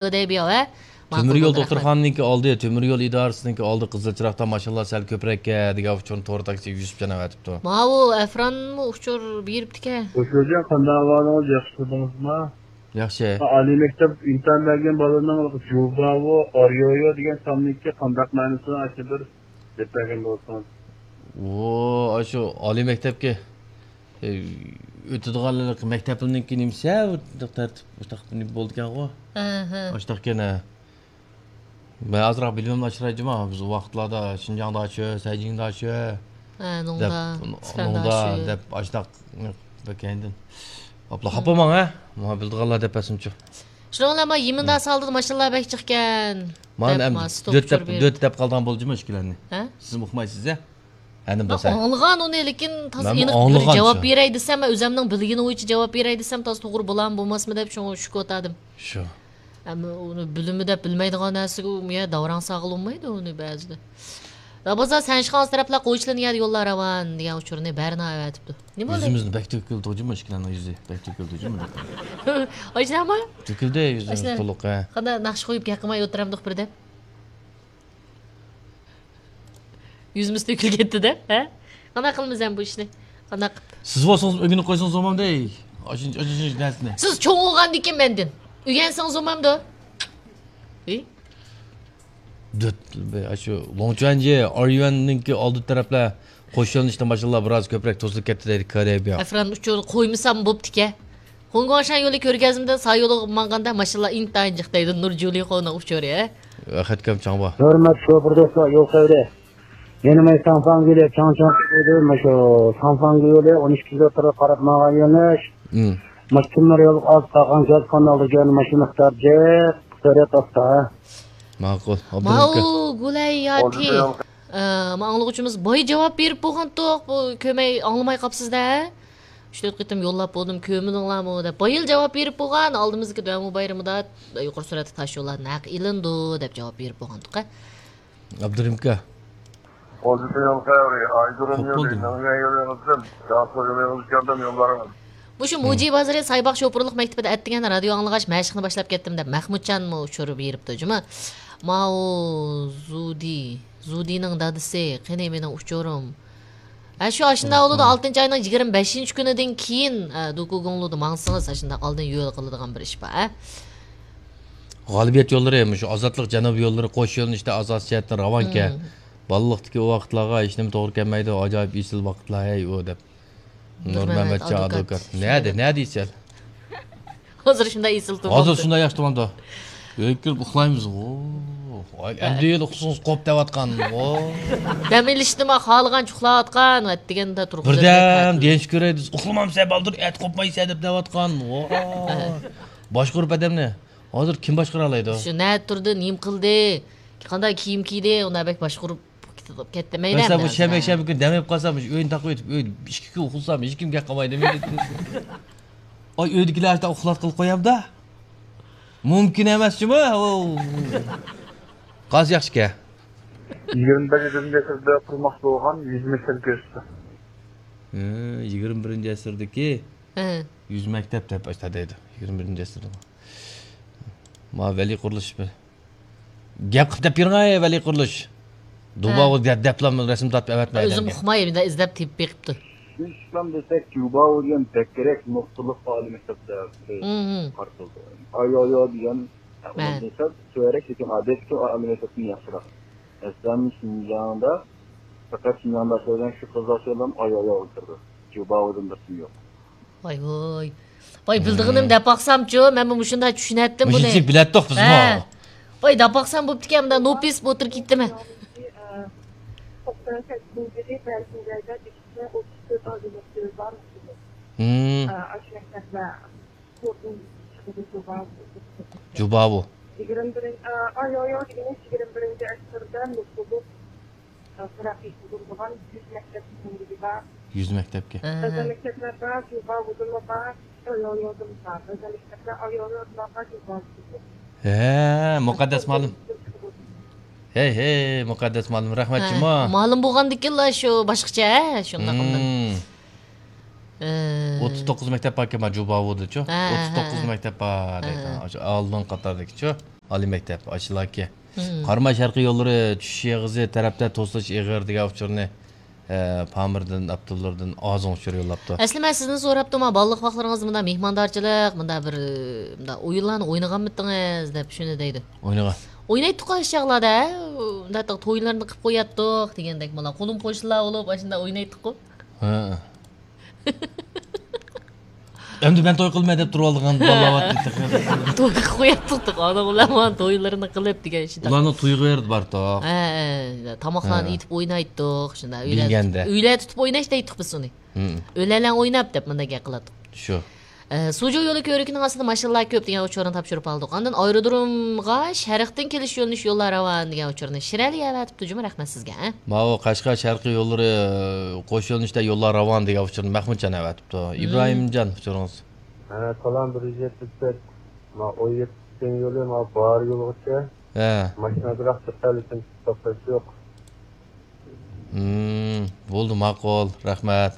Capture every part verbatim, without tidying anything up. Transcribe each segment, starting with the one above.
دەي بىياۋ، ھە؟ تۆمۈر يول دوختۇرخانىنىڭكى ئالدى، تۆمۈر يول ئىدارىسىنىڭكى ئالدى قىزىل چىراغدا ماشىنىلار سەل كۆپرەككەن دېگەن ئۇچۇرنى تور تاكسى يۈسۈپجان ئەۋەتىپتۇ. ماۋۇ ئەفرانمۇ ئۇچۇر بېرىپتىكەن. خوش گۆرجەن، قانداق ئەھۋالىڭىز؟ ياخشى تۇردىڭىزمۇ؟ ياخشى. ئالىي مەكتەپ ئىمتىھان بەرگەن بالىنىڭ جۇباۋو، ئاريويو دېگەن ساننىڭكى قانداق مەنىسى؟ ئاشۇ بىر دەپ بەرگەن بولسىڭىز. ۋو، ئاشۇ ئالىي مەكتەپكە، ئۆتىدىغانلىق مەكتەپنىڭكى نېمىسى، ھە، بۇ تەرتىپ، بۇ تەرتىپ نېمە بولىدىكەنغۇ؟ ئاشۇنداقكەن، ھە. مەن ئازراق بىلىمىمنى ئاشۇراي جۇما. بىز ئۇ ۋاقىتلاردا شىنجاڭدا شۇ، سەيجىڭدا شۇ، ھە، دەپ، نوڭدا، نوڭدا دەپ، ئاشۇنداق بەك كەينىدىن. ئاپلا، خاپا بولماڭ، ھە؟ ماڭا بىلىدىغانلار دەپ بەرسۇنچۇ. شۇنىڭ بىلەن ما يېمىندا سالدىدا ماشىنىلار بەك جىقكەن. مانا دەپ ئەمدى ما ستوپ دۆت دەپ، ئۇچۇر بېرىپ. دۆت دەپ قالىدىغان بولدى جۇما ئىككىلەننى. ھە؟ سىزمۇ ئۇقمايسىز، ھە؟ ئەنە مەن بولسا. ئاڭلىغان ئۇنى، لېكىن تازا مەنمۇ ئېنىق بىر ئاڭلىغان جاۋاب شۇ. بېرەي دېسەم، مەن ئۆزەمنىڭ بىلگىنى بويىچە جاۋاب بېرەي دېسەم، تازا توغرا بولامدۇ، بولماسمۇ دەپ شۇڭا شۈكۈۋاتاتتىم. شۇ. ئەمما ئۇنى بىلىمى دەپ بىلمەيدىغان نەرسىگە ئۇ يە داۋراڭ ساغلىنمايدۇ ئۇنى بەزىدە. رابازا، سەن چىققان تەرەپلەر قويچىلىنى يەدە يوللار راۋان دېگەن ئۇچۇرنى بەرنا ئەۋەتىپتۇ. نېمە بولدى؟ يۈزىمىزنى بەك تۆكۈلدى جۇمۇ، ئىككىلەننىڭ يۈزى بەك تۆكۈلدى جۇمۇ. ئاشۇنداقمۇ؟ تۆكۈلدى يۈزىمىز تولۇق، ھە. قانداق ناخشا قويۇپ گەپ قىلماي ئولتۇرامدۇق بىردەم؟ يۈزىمىز تۆكۈلۈپ كەتتى دەپ، ھە؟ قانداق قىلىمىز ئەمدى بۇ ئىشنى؟ قانداق؟ سىز بولسىڭىز ئۆگىنىپ قويسىڭىز بولمامدۇ، ئەي؟ ئاشۇ، ئاشۇ، ئاشۇ نەرسىنى. سىز چوڭ بولغاندىكىن مەندىن ئۆگەنسىڭىز بولمامدۇ؟ ئى؟ دۆت، ئاشۇ لوڭچۈەنجى، ئاريۈەننىڭكى ئالدى تەرەپلەر قوش يۆنىلىشتە ماشىنىلار بىراز كۆپرەك توسۇلۇپ كەتتى دەيدۇ، كارەيبىيا. ئەفران ئۇچۇرنى قويمىسام بوپتىكەن. خۇڭگۇاڭشان يولى كۆرگەزمىدىن سا يولىغا ماڭغاندا ماشىنىلار ئىنتايىن جىق دەيدۇ، نۇر جۇلىخونىڭ ئۇچۇرى. ئەخەتكەم چاڭبا. ھۆرمەتلىك شوپۇر دوستلار، يول خەۋىرى. يەنە مەن ساڭفاڭ يولى، چاڭچاڭ يولى، مۇشۇ ساڭفاڭ يولى ئون ئىككى كىلومېتىرغا قاراپ ماڭغان يۆنىلىش. ماشىنىلار يولغا ئاز قالغان گاز قانالىغا يەنە ماشىنا مىقدار جىق، سۈرئەت ئاستا. ماقۇل. ماۋۇ گۇلەي ياتى. ئە، ما ئاڭلىغۇچىمىز باي جاۋاب بېرىپ بولغانتۇق، بۇ كۆرمەي ئاڭلىماي قاپسىز-دە. ئۈچ تۆت قېتىم يوللاپ بولدۇم، كۆرمىدىڭلارمۇ دەپ. بايىل جاۋاب بېرىپ بولغان، ئالدىمىزدىكى دۆمۇ بايرىمىدا يۇقىرى سۈرئەتلىك تاش يوللار نەق ئېلىنىدۇ دەپ جاۋاب بېرىپ بولغانتۇق. ئابدۇرېھىم ئاكا. ئوزۇقىنىڭ خەۋىرى، ئايدۇرۇم يولى، مېڭىڭ يولىڭىزدىن، ياقۇ يولىڭىز كەلدىم يوللارىڭىز. مۇشۇ مۇجى بازىرى سايباغ شوپۇرلۇق مەكتىپىدە ئەتىگەن رادىيو ئاڭلىغاچ مەشىقنى باشلاپ كەتتىم دەپ مەخمۇتجانمۇ ئۇچۇر بېرىپتۇ جۇمۇ. ماۋۇ زۇدى، زۇدىنىڭ دادىسى، قېنى مېنىڭ ئۇچۇرۇم. ھە، شۇ ئاشۇنداق بولىدۇ، ئالتىنچى ئاينىڭ يىگىرمە بەشىنچى كۈنىدىن كېيىن، ھە، دوكۇگۇڭلۇدا ماڭسىڭىز، ئاشۇنداق ئالدىن يول قىلىدىغان بىر ئىش بار، ھە. غالىبىيەت يوللىرى، مۇشۇ ئازادلىق جەنۇبىي يوللىرى قوش يۆنىلىشتە ئاساسىي جەھەتتىن راۋانكەن. بالىلىقتىكى ئۇ ۋاقىتلارغا ھېچنېمە توغرا كەلمەيدۇ، ئاجايىپ ئېسىل ۋاقىتلار ھەي ئۇ دەپ. نۇرمەمەتجان ئادۋوكات. نەدە، نەدە ئېسىل؟ ھازىر شۇنداق ئېسىل تۇرمامدۇ؟ ھازىر شۇنداق ياخشى تۇرمامدۇ؟ ئۆيگە كىرىپ ئۇخلايمىز. ۋو. ئەمدى يەنە ئۇخلىسىڭىز قوپ دەۋاتقان. ۋو. دەم ئېلىشنىمۇ خالىغانچە ئۇخلاۋاتقان. ئەتىگەندە تۇرۇپ بىردەم دېيىش كېرەك، ئۇخلىمامسەن بالدۇر، ئەتە قوپمايسەن دەپ دەۋاتقان. ۋو. باشقۇرۇپ ئادەمنى. ھازىر كىم باشقۇرالايدۇ؟ شۇ نەدە تۇردى، نېمە قىلدى، قانداق كىيىم كىيدى، ئۇنداق بەك باشقۇرۇپ كېتىپ كەتتى. مەيلى مەسىلەن، بۇ شەنبە، شەنبە كۈنى دەم ئېلىپ قالسام، مۇشۇ ئۆينى تاقىۋېتىپ، ئۆيدە ئىككى كۈن ئۇخلىسام، ھېچكىم گەپ قىلمايدۇ. ئۆيدىكىلەر ئاشۇنداق ئۇخلاتقىلى قويامدا؟ مۇمكىن ئەمەس جۇمۇ. قاز ياخشىكەن. يىگىرمە بەشىنچى ئەسىردە قۇرماقچى بولغان يۈز مەكتەپ كۆرسىتىڭ. ھە، يىگىرمە بىرىنچى ئەسىردىكى ھە. يۈز مەكتەپ دەپ ئاشتا دەيدۇ. يىگىرمە بىرىنچى ئەسىردە. ما ۋەلىي قۇرۇلۇش بىر گەپ قىلىپ دەپ بېرىڭ، ئەي ۋەلىي قۇرۇلۇش. دۇباغۇ ھە. دەپ، دەپلا رەسىم تارتىپ ئەۋەتمەي ئۆزۈم ئادەمگە. ئۇقماي، مۇنداق ئىزدەپ تېپىپ بېقىپتۇ. ئىسلام دېسەك، جۇباۋۇ دېگەن بەكرەك نۇقتىلىق ئالىي مەكتەپتە مم. قارىتىلىدۇ. ئايايا دېگەن، مە. ئۇنىڭ دېسە تۆۋەنرەك، لېكىن ئادەتتىكى ئالىي مەكتەپتىن ياخشىراق. مەسىلەن، شىنجاڭدا، پەقەت شىنجاڭدا ئىشلەيدىغان شۇ قىزلار شۇ ئايايا ئولتۇرىدۇ. جۇباۋۇدىن بىر تىن يوق. ۋاي ۋاي. ۋاي، بىلىدىغىنىم دەپ باقسامچۇ، مەنمۇ مۇشۇنداق چۈشىنەتتىم بۇنى. مۇشۇنچىلىك بىلەتتۇق بىزمۇ. ھە. ۋاي، دەپ باقسام بوپتىكەن، مۇنداق نوپىس بولۇپ ئولتۇرۇپ كېتىمەن. توقسان سەككىزىنچى يىلى بەلگىيەدە ئىككى يۈز ئوتتۇز تۆت ئالىي مەكتىپى بار. مم. ئاشۇ مەكتەپلەر جۇباۋۇ. يىگىرمە بىرىنچى، ئايايا دېگىنى يىگىرمە بىرىنچى ئەسىردە نۇقتىلىق تەرەققىي قىلدۇرۇلغان يۈز مەكتەپنىڭ بىرى بار. يۈز مەكتەپكە. ھە. بەزى مەكتەپلەردە جۇباۋۇدىنمۇ بار، ئايايادىنمۇ بار. بەزى مەكتەپلەر ئايايادىنلارغا جۇباۋۇدىن. ھە، مۇقەددەس مۇئەللىم. ھەي، ھەي، مۇقەددەس مۇئەللىم، رەھمەت جۇمۇ. مۇئەللىم بولغاندىكىنلا شۇ باشقىچە، ھە، شۇنداق ئاندىن. مم. ئە، ئوتتۇز توققۇز مەكتەپ باركەن، مانا جۇباۋۇدا-چۇ. ھە، ھە، ئوتتۇز توققۇز ھە. مەكتەپ بار دەيدۇ. ھە. ئاشۇ ئالدىن قاتاردىكى-چۇ. ئالىي مەكتەپ، ئاشۇلاركى. ھىم. قاراماي شەرقىي يوللىرى چۈشۈش ئېغىزى تەرەپتە توسۇلۇش ئېغىر دېگەن ئۇچۇرنى، ئە، پامىردىن، ئابدۇللىدىن ئازىڭ ئۇچۇر يوللاپتۇ. ئەسلى مەن سىزدىن سوراپتىمەن، بالىلىق ۋاقىتلىرىڭىزدا مۇنداق مېھماندارچىلىق، مۇنداق بىر، مۇنداق ئويۇنلارنى ئوينىغانمىدىڭىز دەپ شۇنى دەيدۇ. ئوينىغان. ئوينايتتۇققۇ ئاشۇ چاغلاردا، ھە، مۇنداق تويلارنى قىلىپ قوياتتۇق دېگەندەك، مانا قولۇم قوشنىلار بولۇپ ئاشۇنداق ئوينايتتۇققۇ. ھە. ئەمدى مەن توي قىلىمەن دەپ تۇرۇۋالغان بالىلار بار ئىدى. توي قىلىپ قوياتتۇق، ئانا ئۇلار مانا تويلىرىنى قىلىپ دېگەن ئىش. ئۇلارنىڭ توي قىلىپ بارتۇق. ھە، ھە، تاماقلارنى ھە. ئېتىپ ئوينايتتۇق، شۇنداق. ئۆيلەر بىلگەندە. تۇتۇپ، ئۆيلەر تۇتۇپ ئويناش دەيتتۇق بىز ئۇنى. ھىم. ئۆيلەرلەن ئويناپ دەپ مۇنداق گەپ قىلاتتۇق. شۇ. ئە، سۇجۇ يولى كۆۋرۈكىنىڭ ئاستىدا ماشىنىلار كۆپ دېگەن ئۇچۇرنى تاپشۇرۇپ ئالدۇق. ئاندىن ئايرودرومغا شەرقتىن كېلىش يۆنىلىش يوللار راۋان دېگەن ئۇچۇرنى شىرئەلى ئەۋەتىپتۇ جۇمۇ، رەھمەت سىزگە. ماۋۇ قەشقەر شەرقىي يوللىرى قوش يۆنىلىشتە يوللار راۋان دېگەن ئۇچۇرنى مەھمۇتجان ئەۋەتىپتۇ. مم. ئىبراھىمجان، ئۇچۇرىڭىز. ھە، سالام، بىر يۈز يەتمىش تۆت. ما ئون يەتتە يولى، ما باھار يولىغىچە. ھە. ماشىنا بىراق چىقتى، لېكىن توختاش يوق. ھىم، بولدى، ماقۇل، رەھمەت.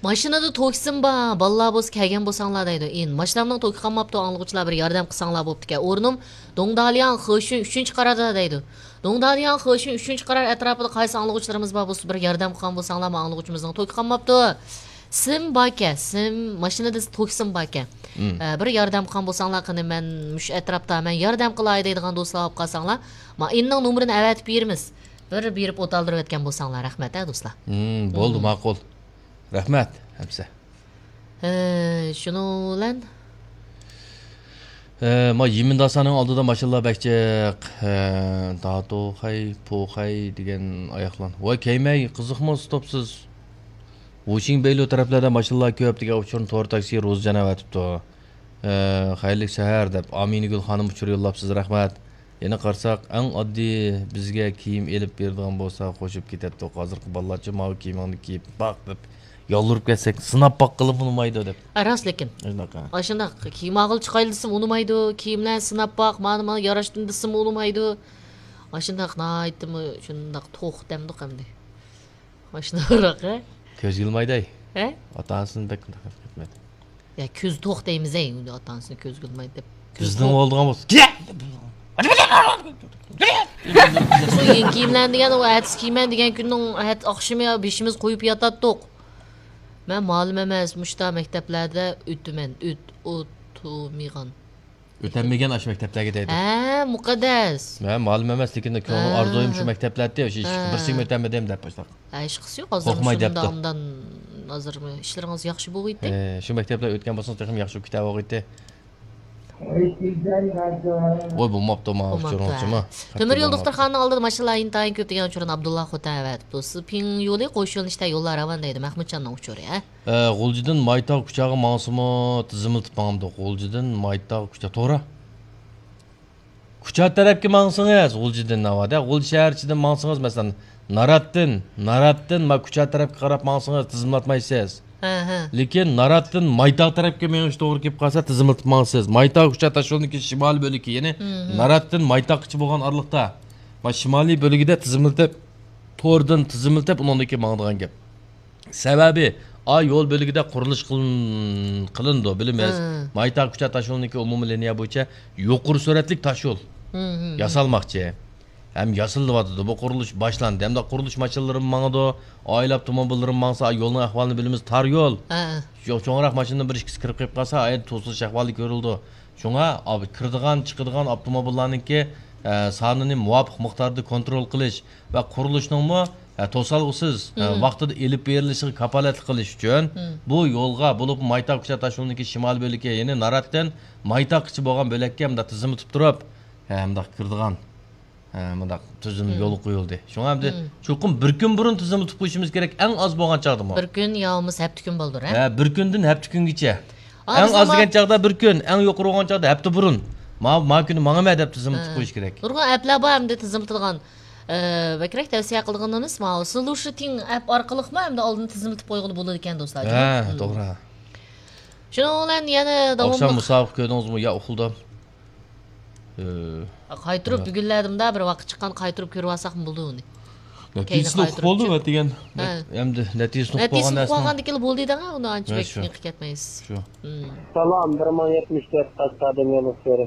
ماشىنىدا توكسىم بار، بالىلار بولسا كەلگەن بولساڭلار دەيدۇ. ئىن، ماشىنامنىڭ توكى قالماپتۇ، ئاڭلىغۇچىلار بىر ياردەم قىلساڭلار بوپتىكەن. ئورنۇم دوڭدالياڭ خېشۈن ئۈچىنچى قاراردا دەيدۇ. دوڭدالياڭ خېشۈن ئۈچىنچى قارار ئەتراپىدا قايسى ئاڭلىغۇچىلىرىمىز بار بولسا بىر ياردەم قىلغان بولساڭلار، ما ئاڭلىغۇچىمىزنىڭ توكى قالماپتۇ. سىم باركەن، سىم، ماشىنىدا توكسىم باركەن. مم. ئە، بىر ياردەم قىلغان بولساڭلار، قېنى مەن مۇشۇ ئەتراپتا، مەن ياردەم قىلاي دەيدىغان دوستلار بولۇپ قالساڭلار، ما ئىننىڭ نومۇرىنى ئەۋەتىپ بېرىمىز. بىر بېرىپ ئوتالدۇرۇۋەتكەن بولساڭلار، رەھمەت، ھە، دوستلار. مم، بولدى، مم. ماقۇل. رەھمەت، ھەمسە. ھە، شۇنىڭ بىلەن ھە، ما يىمىنداسانىڭ ئالدىدا ماشىنىلار بەك جىق. ھە، داتوخەي، پوخەي دېگەن ئاياقلار. ۋاي، كەيمەي، قىزىقمۇ ستوپسىز. ۋۇشىڭ بەيلۇ تەرەپلەردە ماشىنىلار كۆپ دېگەن ئۇچۇرنى تور تاكسى روزىجان ئەۋەتىپتۇ. ھە، خەيرلىك سەھەر دەپ ئامىنىگۈل خانىم ئۇچۇر يوللاپسىز، رەھمەت. يەنە قارىساق، ئەڭ ئاددىي بىزگە كىيىم ئېلىپ بېرىدىغان بولسا قوشۇپ كېتەتتۇق. ھازىرقى بالىلارچە ماۋۇ كىيىمىڭنى كىيىپ باق دەپ يالۋۇرۇپ كەتسەك، سىناپ باققىلىمۇ ئۇنىمايدۇ دەپ. ھە، راست لېكىن. شۇنداق، ھە. ئاشۇنداق كىيىم ئالغىلى چىقايلى دېسىمۇ ئۇنىمايدۇ، كىيىملەرنى سىناپ باق، مانا، مانا ياراشتىمۇ دېسىمۇ ئۇنىمايدۇ. ئاشۇنداق ناھايىتىمۇ شۇنداق توخ دەمدۇق ئەمدى. ئاشۇنداقراق، ھە؟ كۆزگە ئىلمايدۇ. ھە؟ ئاتا-ئانىسىنى بەك ئۇنداق ھەرىكەت قىلمايدۇ. يا، كۆز توق دەيمىز، ئەي، ئۇنى ئاتا-ئانىسىنى كۆزگە ئىلمايدۇ دەپ. كۆز بىزنىڭ توق. بولىدىغان بولسا، كېيىن كىيىملەرنى دېگەن، ئۇ ئەتىسى كىيىمەن دېگەن كۈننىڭ ئەتە ئاخشىمى بېشىمىز قويۇپ ياتاتتۇق. مەن مالىم ئەمەس، مۇشتا مەكتەپلەردە ئۆتىمەن، ئۆت-، ئۆتۈمىغان. ئۆتەلمىگەن ئاشۇ مەكتەپلەرگە دەيدۇ. ھە، مۇقەددەس. مەن مالىم ئەمەس، لېكىن كۆڭلۈم، ھە. ئارزۇيۇم شۇ مەكتەپلەردە، شۇ ھە. بىرسىمۇ ئۆتەلمىدىم دەپ باشلاق. ھە، ھېچقىسى يوق، ھازىرمۇ قورقماي شۇندا دەپتۇ. ئاندان، ھازىرمۇ ئىشلىرىڭىز ياخشى بولغىيتتى. ھە، شۇ مەكتەپلەر ئۆتكەن بولسىڭىز تېخىمۇ ياخشى بولۇپ كېتەۋالغىيتتى. ۋوي، بولماپتۇ، ماۋۇ بولماپتۇ، ئۇچۇرىڭىزچىمۇ؟ ھە. تۆمۈر يول دوختۇرخانىنىڭ ئالدىدا ماشىنىلار ئىنتايىن كۆپ دېگەن ئۇچۇرنى ئابدۇللا خوتەن ئەۋەتىپتۇ. سىز پىڭ يولى قوش يۆنىلىشتە يوللار راۋان دەيدۇ، مەھمۇتجاننىڭ ئۇچۇرى، ھە؟ ئە، غۇلجىدىن مايتاغ كۇچاغا ماڭسىمۇ تىزىملىتىپ ماڭامدۇ؟ غۇلجىدىن مايتاغ كۇچا، توغرا. كۇچا تەرەپكە ماڭسىڭىز، غۇلجىدىن ناۋادا، غۇلجا شەھەر ئىچىدىن ماڭسىڭىز، مەسىلەن، ناراتتىن، ناراتتىن ما كۇچا تەرەپكە قاراپ ماڭسىڭىز تىزىملاتمايسىز. ھە، ھە. لېكىن ناراتتىن مايتاغ تەرەپكە مېڭىش توغرا كېلىپ قالسا تىزىملىتىپ ماڭىسىز. مايتاغ كۇچا تاشيولىنىڭكى شىمالىي بۆلىكى، يەنى ھىم، ھىم. ناراتتىن مايتاغقىچە بولغان ئارىلىقتا، ما شىمالىي بۆلىكىدە تىزىملىتىپ، توردىن تىزىملىتىپ، ئۇنىڭدىن كېيىن ماڭىدىغان گەپ. سەۋەبى، ئا يول بۆلىكىدە قۇرۇلۇش قىلىن-، قىلىنىدۇ، بىلىمىز. ھە. مايتاغ كۇچا تاشيولىنىڭكى ئومۇمىي لىنىيە بويىچە يۇقىرى سۈرئەتلىك تاشيول ھە، ھە، ھە. ياسالماقچى. ھەم ياسىلىۋاتىدۇ. بۇ قۇرۇلۇش باشلاندى. ھەمدە قۇرۇلۇش ماشىنىلىرىمۇ ماڭىدۇ. ئائىلە ئاپتوموبىللىرىمۇ ماڭسا، يولنىڭ ئەھۋالىنى بىلىمىز، تار يول. ھە، ھە. چوڭ-، چوڭراق ماشىنىنىڭ بىر ئىككىسى كىرىپ قېلىپ قالسا، ئايەت توسۇلۇش ئەھۋالى كۆرۈلىدۇ. شۇڭا، ئاپ-، كىرىدىغان، چىقىدىغان ئاپتوموبىللارنىڭكى، ئە، سانىنى مۇۋاپىق مىقداردا كونترول قىلىش ۋە قۇرۇلۇشنىڭمۇ، ئە، توسالغۇسىز، ئە، مم. ۋاقتىدا ئېلىپ بېرىلىشىغا كاپالەتلىك قىلىش ئۈچۈن مم. بۇ يولغا، بولۇپمۇ مايتاغ كۇچا تاشيولىنىڭكى شىمالىي بۆلىكى، يەنى ناراتتىن مايتاغقىچە بولغان بۆلەككە مۇنداق تىزىملىتىپ تۇرۇپ، ھە، مۇنداق كىرىدىغان، ھە، مۇنداق تۈزۈم مم. يولغا قويۇلدى. شۇڭا ئەمدى مم. چوقۇم بىر كۈن بۇرۇن تىزىملىتىپ قويۇشىمىز كېرەك، ئەڭ ئاز بولغان چاغدىمۇ. بىر كۈن يا بولمىسا ھەپتە كۈن بولدۇر، ھە؟ ھە، بىر كۈندىن ھەپتە كۈنگىچە. ئەڭ ئاز دېگەن چاغدا بىر كۈن، ئەڭ يۇقىرى بولغان چاغدا ھەپتە بۇرۇن. ما، ما كۈنى ماڭىمەن دەپ تىزىملىتىپ قويۇش كېرەك. نۇرغۇن ئەپلەر بار ئەمدى تىزىملىتىدىغان. ئە، بەكرەك تەۋسىيە قىلىدىغىنىمىز ماۋۇ سلۇشىتىڭ ئەپ ئارقىلىقمۇ ئەمدى ئالدىن تىزىملىتىپ قويغىلى بولىدىكەن، دوستلار. ھە، مم. توغرا. شۇنىڭ بىلەن يەنە ئاخشام داۋاملىق مۇسابىقە كۆردىڭىزمۇ؟ يا ئۇخلىدىم. ئە، قايتۇرۇپ ھە. بۈگۈنلەردىمۇ بىر ۋاقىت چىققان، قايتۇرۇپ كۆرۈۋالساقمۇ بولىدۇ ئۇنى. نەتىجىسىنى ئۇقۇپ بولدى دېگەن. ئەمدى نەتىجىسىنى ئۇقۇپ بولغان نەرسىنىڭ. ئۇقۇپ بولغاندىكىن بولدى دەڭ، ئۇنى ئانچە بەك نېقىپ كەتمەيسىز. شۇ. سالام، بىر مىڭ يەتمىش تۆت قەشقەردىن يولداش بېرى.